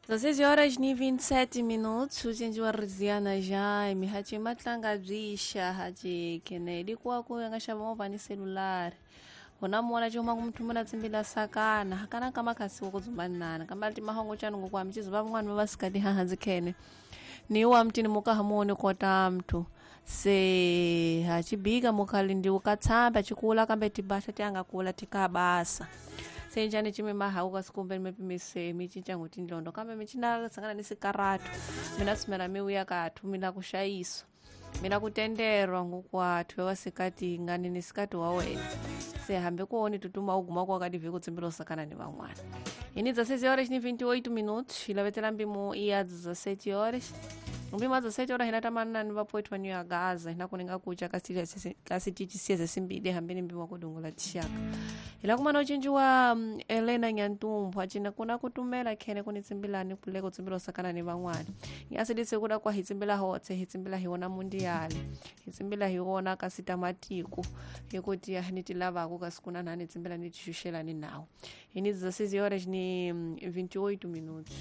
16 horas ni 27 minutos, ucinci wa Riziana Jaime, hachi matlanga bzisha, hachi Kennedy kuwa ku nga xava movha ni selulari. Hona muona chuma kumthumela tsimbila sakana, hakana kama khasi wo kudzumanana, kamba ti mahongo chanu ngokwa mchizo va van'wana va vasikati hahanzi khene. Ni wa mtini mukaha muone kota mthu. Se hachibika mukhali ndi ukatsamba chikula kambe tibasha tiangakula tikabasa. Senjani chime mahau kasikumbe nimepimise michinja nguti ndlondo kambe michina sangana ni sikaratu mina sumela miuya kathu mina kushayiswa mina kutenderwa ngukwathu ewasikati ngani ni sikati wa wena se hambe kuoni tutuma uguma kwakadive kutsimbila usakana ni van'wana ini dza 6 horas ni 28 minutos ilavetela mpimo iya 17 horas mpimo a 17 horas hina tamanani vapoethwa ni ya gaza hina kuninga kucha kasititisieze simbili hambeni mpimo wakudungula tixaka hila kumana ucinci wa Elena Nyantumbu acina kuna kutumela khene kuni tsimbilani kule kutsimbila usakana ni van'wana nyasilise kuda kwa hitsimbila hotse hitsimbila hi wona mundiyali hitsimbila hi wona kasi tamatiko hikuti ni ti lavako kasi kuna na ni tsimbila ni tixuxelani nawo hi ni 16 horas ni 28 minutos.